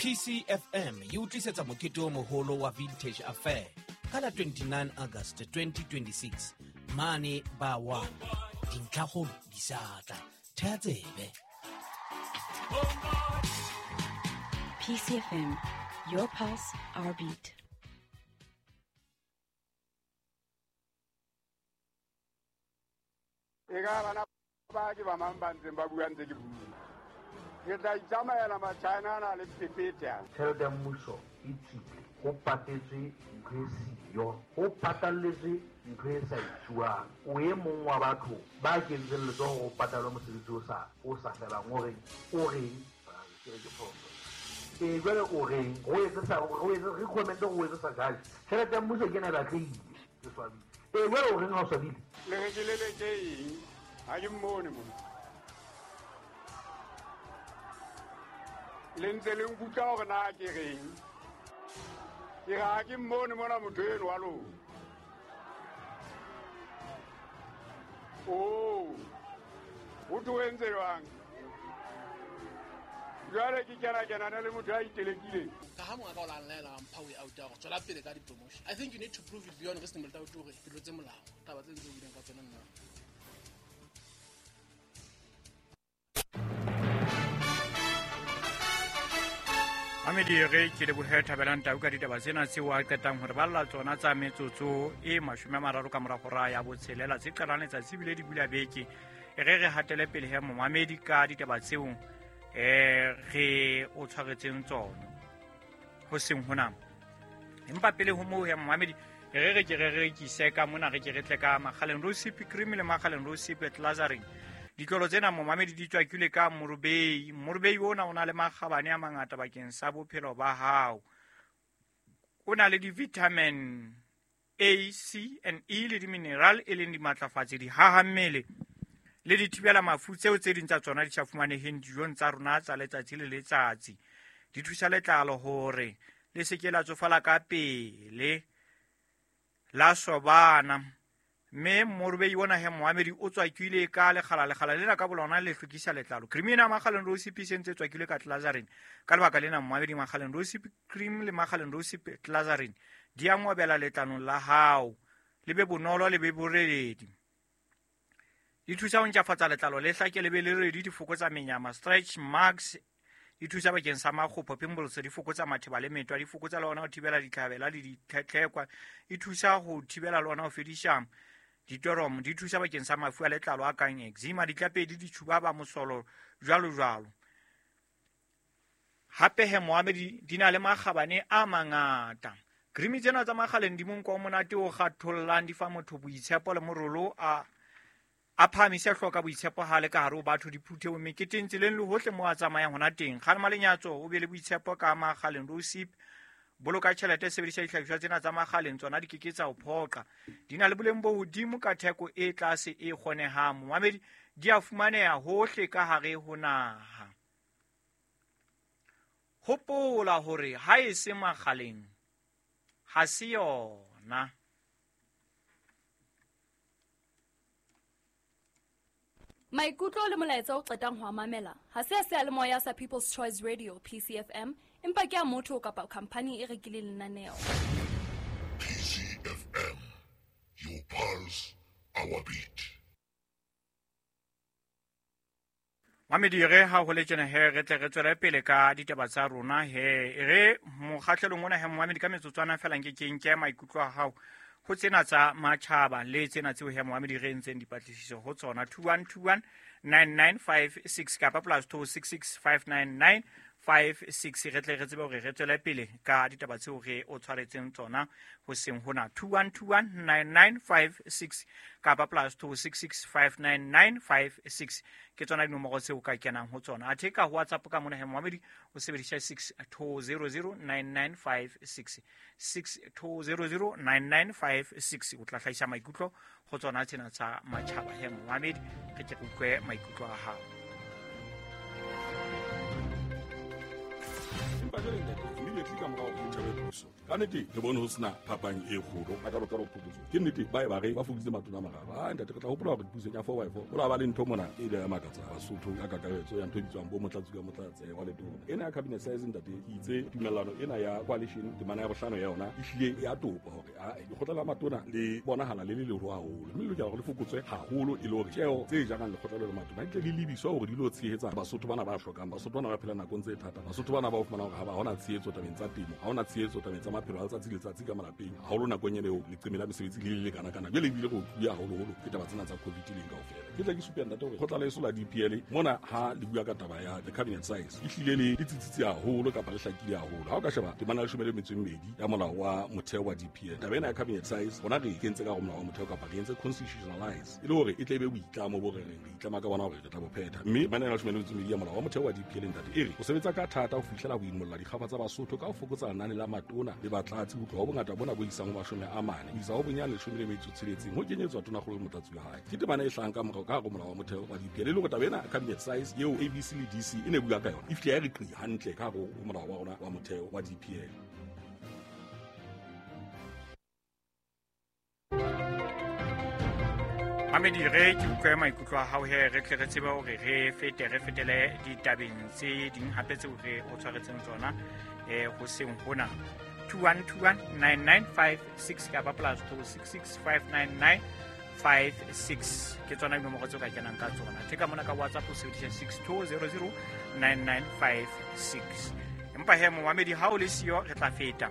PCFM e o tlisetsa mokete o moholo wa Vintage Affair ka la 29 August 2026 mane ba 1. Dintlhakgolo di sa tla. Thea tsebe. PCFM, your pulse, our beat. E ka bana ba ke ba mang ba ntseng ba bua ntse ke bua. Ke tla itsamaela Machina ana le phephethe ana. Tjhelete ya mmuso e tswile, ho patetswe ntho e siyo, ho patalletswe ntho e sa etsuwang. O e mong wa batho ba kentseng letsoho ho patalwe mosebetsi o sa o sa felang. O reng? O reng? Ke re ke phoso. Ee, jwale o reng? Re o etse sa re o etse recommend re o etse sa judge. Tjhelete ya mmuso ke ena e batlehile. Ke swabile. Ee, jwale o reng ha o swabile? Le re ke leleke eng? Ha ke mmone mona. Le ntse le nkutlwa hore na ke reng? Ke re ha ke mmone mona motho eno wa lona. Oh, ho thwe o entse jwang? Jwale ke kena kenana le motho a itelekileng. Ka ha mongaka o la nlaela wa mpha way out ya gore tswela pele ka di-promotion. I think you need to prove it beyond reasonable doubt hore ke tlotse molao. Taba tse ntse o buileng ka tsona nna. Mamedi re ke lebohe Thabelang Tau ka ditaba tsena tseo a qetang hore balla tsona tsa metsotso e 30 ka mora hora ya botshelela tse qalang letsatsi ebile di bula beke. E re re hatele pele he momamedi ka ditaba tseo re o tshwaretseng tsona ho seng hona. Empa pele ho moo he momamedi re re ke re rekise ka mona, re ke re tle ka Makgaleng Rosip Cream le Makgaleng Rosip Glazarin. Ditlolo tsena momamedi di tswakilwe ka morobei. Morobei ona o na le makgabane a mangata bakeng sa bophelo ba hao. O na le di-vitamin A, C and E le di-mineral e leng dimatlafatsi, dihaha mmele le dithibela mafu tseo tse ding tsa tsona di sa fumaneheng dijong tsa rona tsa letsatsi le letsatsi. Di thusa letlalo hore le se ke la tsofala ka pele, la sobana. Mme morobei ona he moamedi o tswakile ka lekgala, lekgala lena ka bolona le hlwekisa letlalo. Cream ena Makgaleng Rosip e sentse e tswakilwe ka Glazarin. Ka lebaka lena moamedi Makgaleng Rosip Cream le Makgaleng Rosip Glazarin di a ngobela letlalong la hao, le be bonolo le be boreledi. Di thusa ho ntlafatsa letlalo le hlake le be le redi, di fokotsa menyama, stretch marks, di thusa bakeng sa makgopho, pimples, di fokotsa matheba le metwa, di fokotsa le hona ho thibela ditlhabela le ditlhetlhekwa, di thusa ho thibela le hona ho fedisa ditoromo, di thusa bakeng sa mafu a letlalo a kang eczema, ditlapedi, ditjhubaba, mosolo, jwalo jwalo. Hape he moamedi di na le makgabane a mangata. Cream tsena tsa Makgaleng di monko o monate o kgathollang, di fa motho boitshepo le morolo a phahamise hloka boitshepo ha le ka hare ho batho, diphuthehong, meketeng, tseleng le hohle moo a tsamayang hona teng. Kgalema lenyatso, o be le boitshepo ka Makgaleng Rosip. Boloka tjhelete, sebedisa dihlahiswa tsena tsa Makgaleng, tsona di ke ke tsa o phoqa. Di na le boleng bo hodimo ka theko e tlase e kgonehang. Momamedi, di a fumaneha hohle ka hare ho naha. Hopola hore ha e se Makgaleng, ha se yona. Maikutlo le molaetsa o qetang ho a mamela ha se a seyalemoya sa People's Choice Radio PCFM, empa ke a motho kapa khampani e rekileng lenaneo. PCFM, your pulse, our beat. Mamedi, re ha ho le tjena he re tle re tswele pele ka ditaba tsa rona he. Re mokgahlelong ona he momamedi ka metsotswana feela nke ke nke maikutlo a hao ho tsena tsa matjhaba le tsena tseo he momamedi re entseng dipatlisiso ho tsona. 2121 9956 kapa plus 266 599 56. Re tle re tsebe hore re tswele pele ka ditaba tseo re o tshwaretseng tsona ho seng hona. 2121 9956 kapa plus 266 599 56 ke tsona dinomoro tseo ka kenang ho tsona. Athe ka WhatsApp ka mona he momamedi o sebedisa 6200 9956, 6200 9956, o tla hlahisa maikutlo ho tsona tsena tsa matjhaba he momamedi, re ke re utlwe maikutlo a hao. Empa jwale ntate, immediately ka morao ho thabe Mosotho. Ka nnete re bone ho sena phapang e kgolo a ka ho phokotso. Ke nnete ba e ba re ba fokoditse matona a mararo. A ntate re tla hopola hore pusong ya 4x4 ho la ba le ntho mona e ile ya makatsa Basotho ka kakaretso ya ntho e bitswang bo motlatsi ka motlatse wa letona. Ena ya cabinet size ntate ke itse tumellano ena ya coalition temana ya bohlano ya yona e hlile ya topa hore a lekgotla la matona le bonahala le le leholo haholo, mme le lokela hore le fokotswe haholo e le hore tjeo tse jarang lekgotla le matona di tle di lebiswa hore di lo tshehetsa Basotho bana ba hlokang, Basotho bana ba phelang nakong tse thata, Basotho bana ba o fumana hore ha ba hona tshehetso tabeng tsa temo, ha hona tshehetso tabeng tsa maphelo a letsatsi le letsatsi ka malapeng, haholo nakong ena eo leqeme la mesebetsi le le lekana-kana. Jwale ebile re otluwe haholoholo ke taba tsena tsa COVID leng kaofela. Ke tla ke supe ntate hore lekgotla leso la DPL mona ha le bua ka taba ya the cabinet size e hlile le tsitsitse haholo kapa le hlakile haholo. Ha o ka sheba temana ya 12 ya molao wa motheo wa DPL, taba ena ya cabinet size rona re e kentse ka hare ho molao wa motheo kapa re entse constitutionalize e le hore e tle e be boitlamo bo re reng re itlama ka bona hore re tla bo phetha. Mme temana ya 12 ya molao wa motheo wa DPL ntate e re ho sebetsa ka thata ho fihlela ho imolla dikgafa tsa Basotho ka ho fokotsa lenane la matona le batlatsi ho tloha ho bongata bona bo isang ho 40 ho isa ho bonyane 16 ho kenyetswa tonakgolo le motlatsi wa hae. Ke temana e hlahang ka morao ka hare ho molao wa motheo wa DPL e le hore taba ena cabinet size eo ABC le DC e ne bua ka yona e fihle ya re qi hantle ka hare ho molao wa rona wa motheo wa DPL. Mamedi, re ke utlwe maikutlo a hao he re tle re tsebe hore re fete re fetele ditabeng tse ding hape tseo re o tshwaretseng tsona hoseng hona. 21219956 kapa plus 26659956 ke tsona dinomoro tseo ka kenang ka tsona. Theka mona ka WhatsApp o sebedisa 62009956. Empa he momamedi ha o le siyo re tla feta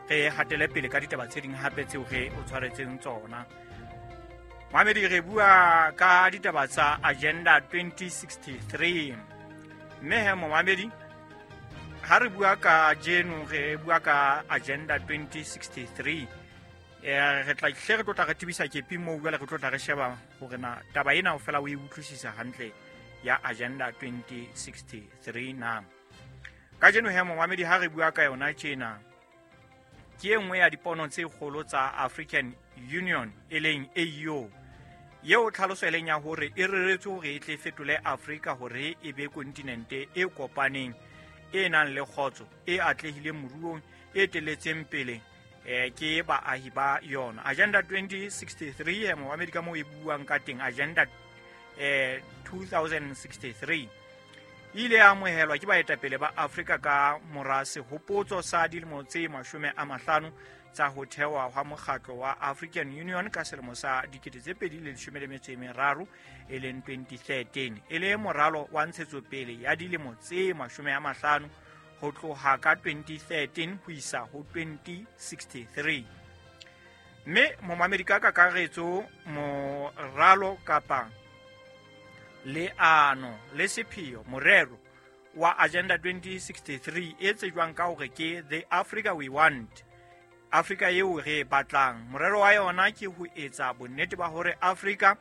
re hatele pele ka ditaba tse ding hape tseo re o tshwaretseng tsona. Mamedi, re bua ka ditaba tsa Agenda 2063. Mme he momamedi, ha re bua ka jeno re bua ka Agenda 2063. Re tla hle re tlo tla re tebisa kepi moo jwale re tlo tla re sheba hore na taba ena fela o e utlwisisa hantle ya Agenda 2063 na. Kajeno he momamedi ha re bua ka yona tjena, ke e nngwe ya dipono tse kgolo tsa African Union e leng AU, eo tlhaloso e leng ya hore e reretswe hore e tle fetole Afrika hore e be kontinente e kopaneng, e nang le kgotso, e atlehileng moruong, e teletseng pele ke baahi ba yona. Agenda 2063 momamedi ka moo e buang ka teng, Agenda 2063 e ile ya amohelwa ke baetapele ba Afrika ka mora sehopotso sa dilemo tse 50 tsa ho thewa hwa mokgatlo wa African Union ka selemo sa 2013 e leng 2013, e le moralo wa ntshetsopele ya dilemo tse 50 ho tloha ka 2013 ho isa ho 2063. Mme momamedi ka kakaretso moralo kapa leano le sepheo morero wa Agenda 2063 e tsejwang ka hore ke The Africa We Want, Afrika eo re e batlang. Morero wa yona ke ho etsa bonnete ba hore Afrika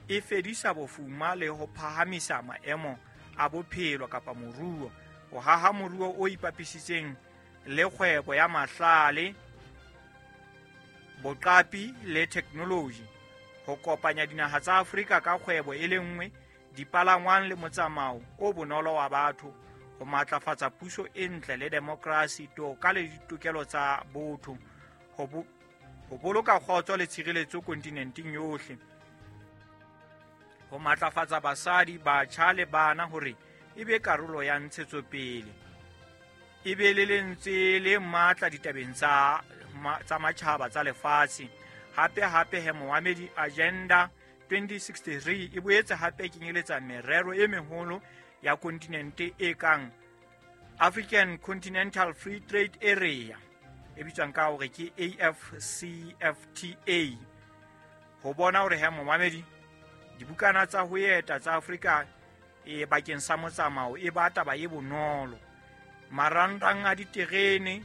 e fedisa bofuma le ho phahamisa maemo a bophelo kapa moruo, ho haha moruo o ipapisitseng le kgwebo ya mahlale, boqapi le technology, ho kopanya dinaha tsa Afrika ka kgwebo e le nngwe, dipalangwang le motsamao o bonolo wa batho, ho matlafatsa puso e ntle le demokrasi, toka le ditokelo tsa botho, ho boloka kgotso le tshireletso kontinenteng yohle, ho matlafatsa basadi, batjha le bana hore e be karolo ya ntshetsopele, e be le lentswe le matla ditabeng tsa matjhaba tsa lefatshe. Hape hape he momamedi, Agenda 2063 e boetse hape kenyeletsa merero e meholo ya kontinente e kang African Continental Free Trade Area e bitswang ka hore ke AfCFTA, ho bona hore he momamedi dibukana tsa ho eta tsa Afrika e bakeng sa motsamao e ba taba e bonolo, marangrang a diterene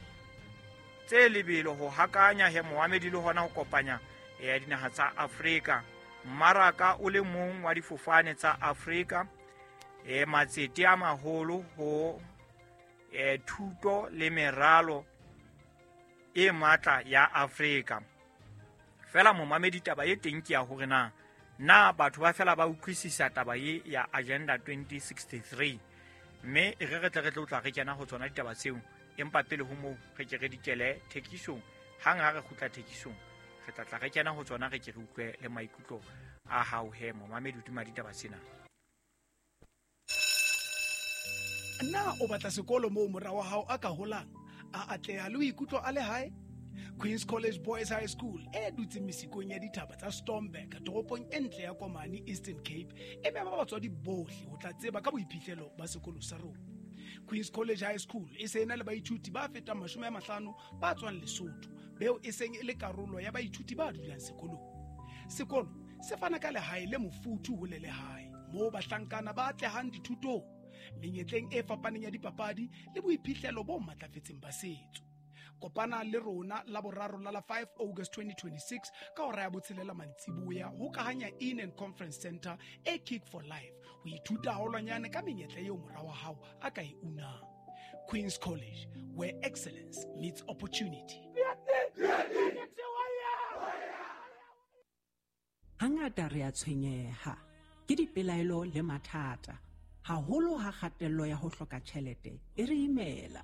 tse lebelo ho hakanya he momamedi le hona ho kopanya ya dinaha tsa Afrika, mmaraka o le mong wa difofane tsa Afrika, matsete a maholo ho thuto le meralo e matla ya Afrika. Fela momamedi taba e teng ke ya hore na batho ba fela ba utlwisisa taba e ya Agenda 2063, mme e re re tle re tlo tla re kena ho tsona ditaba tseo Empa pele ho moo re ke re dikele thekisong. Hang ha re kgutla thekisong, re tla tla re kena ho tsona, re ke re utlwe le maikutlo a hao he momamedi hodima ditaba tsena. Na o batla sekolo moo mora wa hao a ka holang, a atleha le ho ikutlwa a le hae? Queen's College Boys High School e dutseng mesikong ya dithaba tsa Stormberg toropong e ntle ya Komani, Eastern Cape, e mema batswadi bohle ho tla tseba ka boiphihlelo ba sekolo sa rona. Queen's College High School e se ena le baithuti ba fetang 50 ba tswang Lesotho, beo e seng e le karolo ya baithuti ba dulang sekolong. Sekolo se fana ka lehae le mofuthu ho le lehae, moo bahlankana ba atlehang dithutong, menyetleng e fapaneng ya dipapadi le boiphihlelo bo matlafetseng ba setso. Kopana le rona la boraro la 5 August 2026 ka hora ya 6 mantsiboya ho Kahanya Inn and Conference Center e Kick for Life ho ithuta haholwanyane ka menyetla eo mora wa hao a ka e unang. Queen's College, where excellence meets opportunity. Hangata re a tshwenyeha ke dipelaelo le mathata, haholo ha kgatello ya ho hloka tjhelete e re imela.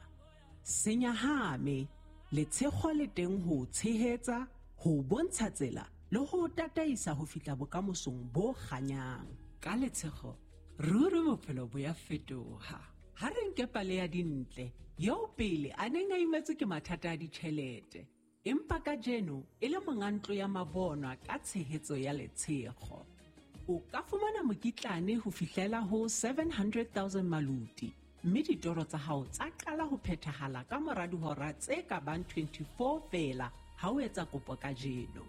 Senyahame, letshego le teng ho tshehetsa, ho bontsha tsela le ho tataisa ho fihla bokamosong bo kganyang. Ka letshego, ruri bophelo bo ya fetoha. Ha re nke pale ya Dintle, eo pele a neng a imetswe ke mathata a ditjhelete, empa kajeno e le monga ntlo ya mabonwa ka tshehetso ya letshego. O ka fumana mokitlane ho fihlela ho 700,000 maluti, mme ditoro tsa hao tsa qala ho phethahala ka mora dihora tse ka bang 24 feela ha o etsa kopo kajeno.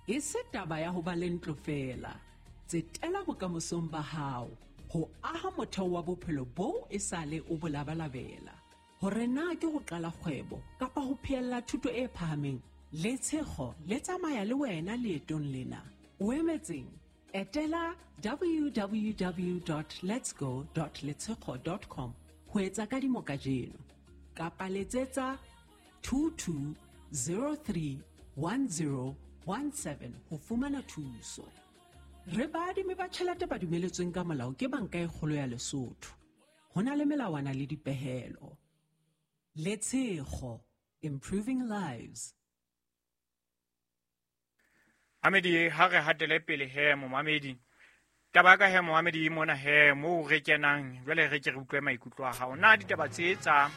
E se taba ya ho ba le ntlo feela, tsetela bokamosong ba hao ho aha motheo wa bophelo boo e sale o bo labalabela. Hore na ke ho qala kgwebo kapa ho phehella thuto e phahameng, letshego le tsamaya le wena leetong lena. O emetseng? Etela www.letsgo.letshego.com ho etsa kadimo kajeno, kapa letsetsa 22031017 ho fumana thuso. Re baadimi ba tjhelete ba dumeletsweng ka molao ke Banka e Kgolo ya Lesotho. Ho na le melawana le dipehelo. Letshego, improving lives. Amedi, ha re hatele pele he momamedi. Taba ka he momamedi mona he moo re kenang jwale re ke re utlwe maikutlo a hao. Na ditaba tse tsa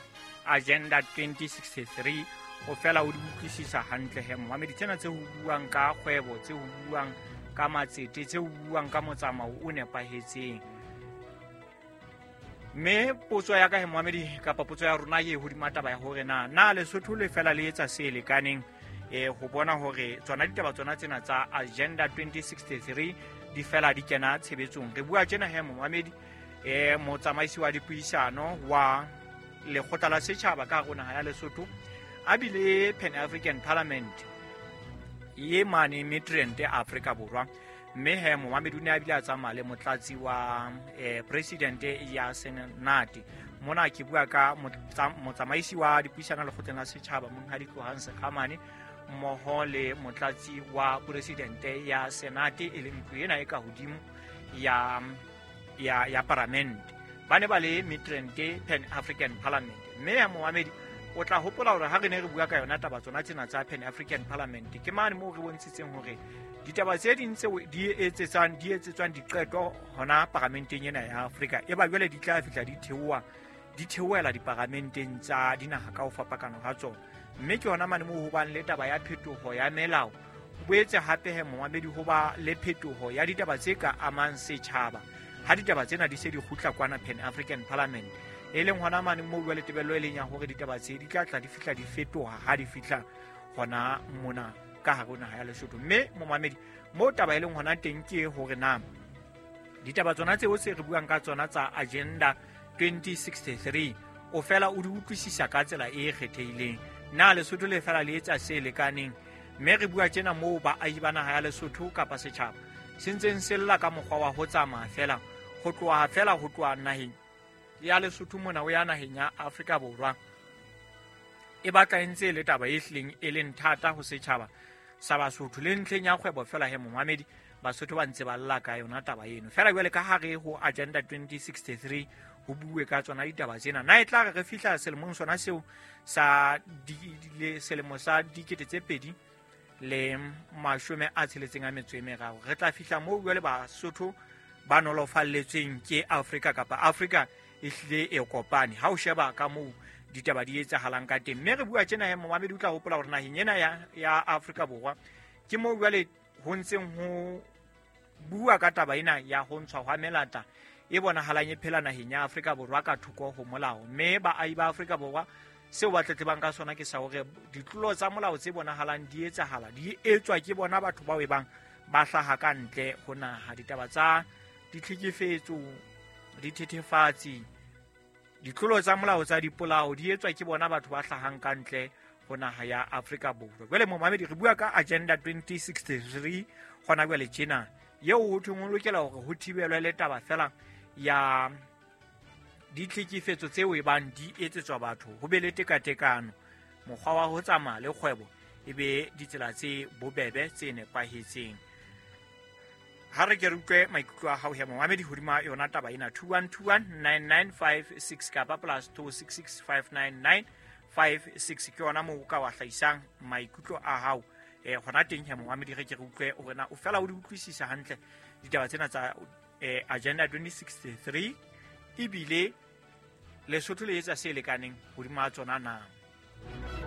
Agenda 2063 o fela o di utlwisisa hantle he momamedi? Tsena tse ho buang ka kgwebo, tse ho buang ka matsete, tse ho buang ka motsamao o nepahetseng. Mme potso ya ka he momamedi kapa potso ya rona e hodima taba ya hore na Lesotho le fela le etsa se lekaneng ho bona hore tsona ditaba tsona tsena tsa Agenda 2063 di fela di kena tshebetsong. Re bua tjena he momamedi, motsamaisi wa dipuisano wa lekgotla la setjhaba ka hare ho naha ya Lesotho, a bile Pan African Parliament ye mane Midrand Afrika Borwa. Mme he momamedi o ne a bile a tsamaya le motlatsi wa president ya Senate. Mona ke bua ka motsamaisi wa dipuisano lekgotleng la setjhaba Monghadi Tlohang Sekhamane, mmoho le motlatsi wa presidente ya Senate e leng ntlo ena e ka hodimo ya paramente. Ba ne ba le Midrand Pan African Parliament. Mme ya momamedi o tla hopola hore ha re ne re bua ka yona taba tsona tsena tsa Pan African Parliament, ke mane moo re bontshitseng hore ditaba tse ding tseo di etsetswang diqeto hona paramenteng ena ya Afrika e ba jwale di tla fihla di theohela diparamenteng tsa dinaha ka ho fapakana ha tsona. Mme ke hona mane moo ho bang le taba ya phetoho ya melao. Ho boetse hape he momamedi ho ba le phetoho ya ditaba tse ka amang setjhaba ha ditaba tsena di se di kgutla kwana Pan African Parliament, e leng hona mane moo jwale tebello e leng ya hore ditaba tse di tla tla di fihla di fetoha ha di fihla hona mona ka hare ho naha ya Lesotho. Mme momamedi moo taba e leng hona teng ke hore na ditaba tsona tseo se re buang ka tsona tsa Agenda 2063 o fela o di utlwisisa ka tsela e kgethehileng. Na Lesotho le fela le etsa se lekaneng? Mme re bua tjena moo baahi ba naha ya Lesotho kapa setjhaba se ntseng se lla ka mokgwa wa ho tsamaya fela ho tloha naheng ya Lesotho mona o ya naheng ya Afrika Borwa. E batla e ntse e le taba e hlileng e leng thata ho setjhaba sa Basotho le ntlheng ya kgwebo fela he momamedi, Basotho ba ntse ba lla ka yona taba eno. Fela jwale ka hare ho Agenda 2063 ho bue ka tsona ditaba tsena. Na e tla re re fihla selemong sona seo sa selemo sa 2063, re tla fihla moo jwale Basotho ba nolofalletsweng ke Afrika kapa Afrika e hlile e kopane. Ha o sheba ka moo ditaba di etsahalang ka teng, mme re bua tjena he momamedi o tla hopola hore naheng ena ya Afrika Borwa ke moo jwale ho ntseng ho bua ka taba ena ya ho ntshwa hwa melata e bonahalang e phela naheng ya Afrika Borwa ka thoko ho molao. Mme baahi ba Afrika Borwa seo ba tletlebang ka sona ke sa hore ditlolo tsa molao tse bonahalang di etsahala di etswa ke bona batho bao e bang ba hlaha ka ntle ho naha. Ditaba tsa ditlhekefetso, dithethefatsi, ditlolo tsa molao tsa dipolao di etswa ke bona batho ba hlahang ka ntle ho naha ya Afrika Borwa. Jwale momamedi re bua ka Agenda 2063 hona jwale tjena, eo ho thweng ho lokela hore ho thibelwe le taba fela ya ditlhekefetso tseo e bang di etsetswa batho, ho be le tekatekano, mokgwa wa ho tsamaya le kgwebo e be ditsela tse bobebe tse nepahetseng. Ha re ke re utlwe maikutlo a hao he momamedi hodima yona taba ena. 21219956 kapa +26659956 ke yona moo o ka wa hlahisang maikutlo a hao. Hona teng he momamedi re ke re utlwe hore na o fela o di utlwisisa hantle ditaba tsena tsa Agenda 2063, ebile Lesotho le etsa se lekaneng hodima tsona na.